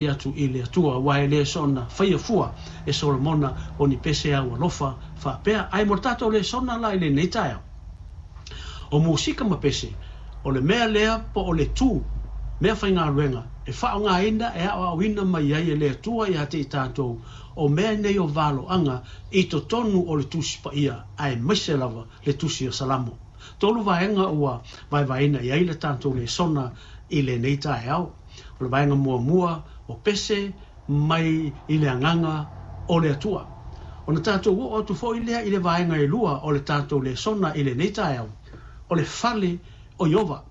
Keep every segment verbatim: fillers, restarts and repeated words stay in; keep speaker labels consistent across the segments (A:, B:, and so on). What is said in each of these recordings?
A: Atu i le Atua, aua e le soona faia fua e Solomona o ni pese au alofa faapea. Ae mo le tatou lesona la i lenei taeao, o musika ma pese, o le mea lea po o le tu mea faigaluega e faaaogaina e aoaoina mai ai e le Atua ia te i tatou o mea nei o valoaga i totonu o le Tusi Paia, aemaise lava le Tusi o Salamo. Tolu vaega ua vaevaeina i ai le tatou lesona i lenei taeao. O le vaega muamua, o pese mai i le agaga o le Atua. Ona tatou oo atu foi lea i le vaega e lua o le tatou lesona i lenei taeao, o le fale o Ieova.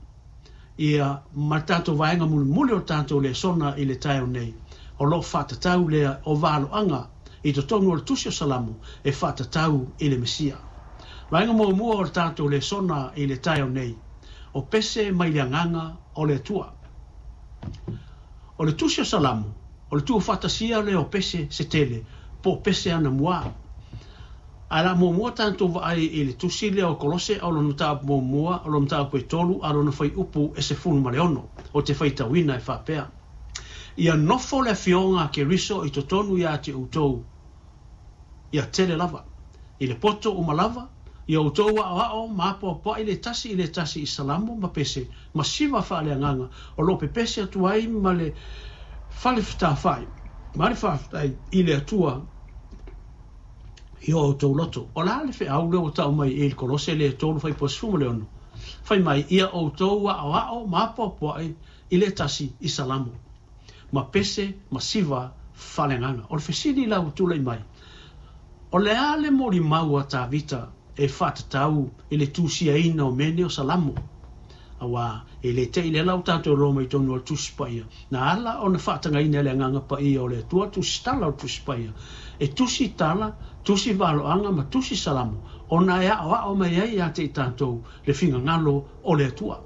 A: Ia, ma le tatou vaega mulimuli o le tatou lesona i le taeao nei, o lo o faatatau lea o valoaga i totonu o le Tusi o Salamo e faatatau i le Mesia. Vaega muamua o le tatou lesona i le taeao nei, o pese mai le agaga o le Atua. O le Tusi o Salamo, o le tuufaatasia lea o pese se tele, po o pese anamua. Ae la muamua tatou vaai i le tusi lea o Kolose o lona mataupu muamua, o lona mataupu e tolu, a lona fuaiupu e sefulu ma le ono, o te faitauina e faapea: Ia nofo le afioga a Keriso i totonu ia te outou, ia tele lava, i le poto uma lava, ia outou aoao ma apoapoai le tasi i le tasi i salamo ma pese, ma siva faaleagaga, o lo o pepese atu ai ma le falefetafai, ma le faafetai i le Atua i o outou loto. O le a le feau lea ua tau mai i le Kolose le tolu fuaiupu sefulu ma le ono? Fai mai, ia outou aoao ma apoapoai i le tasi i salamo, ma pese ma siva faaleagaga. O le fesili la ua tulai mai, o le a le molimau a Tavita e faatatau i le tusiaina o mea nei o salamo? Aua e le te i le lau tatou iloa mai totonu o le Tusi Paia, na ala ona faatagaina e le Agaga Paia o le Atua tusi tala o le Tusi Paia, e tusi tala, tusi valoaga ma tusi salamo, ona e aoao mai ai ia te i tatou le finagalo o le Atua.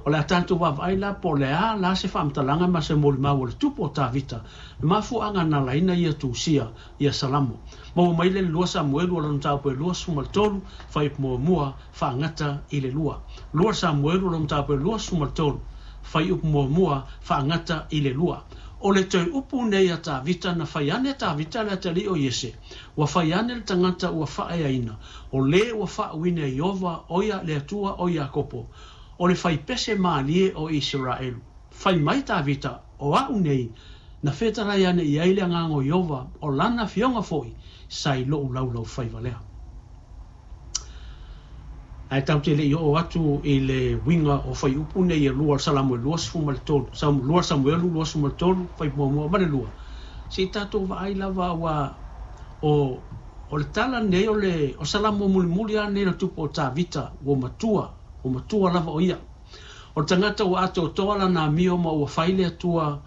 A: O le a tatou vaavaai la po o le a la se faamatalaga ma se molimau o le tupu o Tavita, le mafuaaga na alaina ia tusia ia salamo. Maua mai le lua Samuelu o lona mataupu e luasefulu ma le tolu, fuaiupu muamua faagata i le lua. Lua Samuelu o lona mataupu e luasefulu ma le tolu, fuaiupu muamua faagata i le lua. O le toe upu nei a Tavita na fai ane Tavita le atalii o Iese, ua fai ane le tagata ua faaeaina, o le ua faauuina e Ieova o ia le Atua o Iakopo, o le faipese malie o Iseraelu. Fai mai Tavita, o a'u nei, na fetalai ane i ai le agaga o Ieova, o lana afioga foi sa i lo'u laulaufaiva lea. Ae tatou te le i oo atu i le uiga o fuaiupu nei e lua o le Salamo e luasefulu ma le tolu, lua Samuelu luasefulu ma le tolu, fuaiupu muamua ma le lua, se i tatou vaai lava ua o o le tala nei o le o Salamo mulimuli lava nei le tupu o Tavita ua matua, ua matua lava o ia. O le tagata ua atoatoa lana amio ma ua fai le Atua,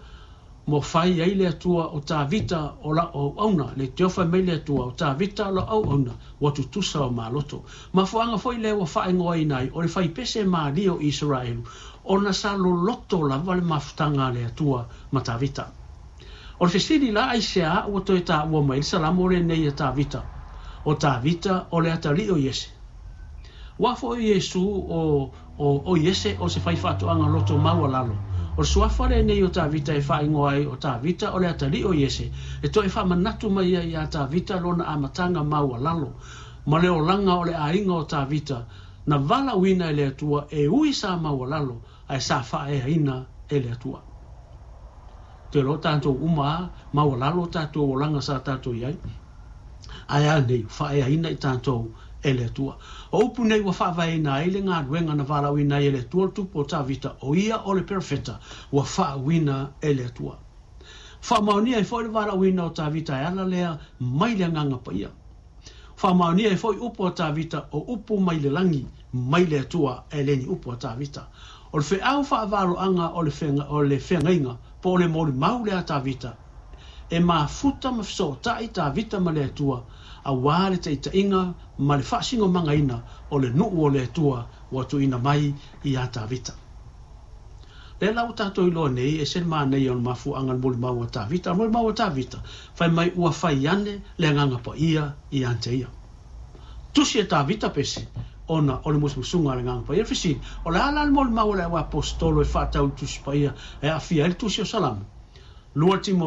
A: ma ua fai ai le Atua o Tavita o lau auauna, le teofa mai le Atua o Tavita o lau auauna ua tutusa o maloto. Mafuaaga foi lea ua faaigoaina ai o le faipese malie o Iseraelu, ona sa loloto lava le mafutaga a le Atua ma Tavita. O le fesili la, aisea ua toe taua mai le salamo lenei a Tavita? O Tavita o le atalii o Iese. Ua foi Iesu o, o, o Iese o se faifaatoaga loto maualalo. O le suafa lenei o Tavita e faaigoa ai o Tavita o le atalii o Iese, e toe faamanatu mai ai ia Tavita lona amataga maualalo, ma le olaga o le aiga o Tavita, na valaauina e le Atua e ui sa maualalo, ae sa faaeaina e le Atua. Te iloa tatou uma a, maualalo tatou olaga sa tatou i ai, ae a nei, faaeaina i tatou e le Atua. O upu nei ua faavaeina ai le galuega na valaauina ai e le Atua le tupu o Tavita, o ia o le perofeta ua faauuina e le Atua. Faamaonia ai foi le valaauina o Tavita e ala lea mai le Agaga Paia. Faamaonia ai foi upu a Tavita, o upu mai le lagi, mai le Atua, e le ni upu a Tavita. O le feau faavaloaga o le feaga, o le feagaiga, po o le molimau lea a Tavita, e mafuta ma fesootai Tavita ma le Atua, aua le taitaiga ma le faasigomagaina o le nuu o le Atua ua tuuina mai ia Tavita. Lea la ua tatou iloa nei, e ese le manaia o le mafuaaga o le molimau a Tavita. O le molimau a Tavita, fai mai ua fai ane le Agaga Paia ia te ia. Tusi e Tavita pese, ona o le musumusuga a le Agaga Paia. O le fesili, o le a la le molimau a le auaposetolo e faatatau i le Tusi Paia e aafia ai le Tusi o Salamo? Lua Timotea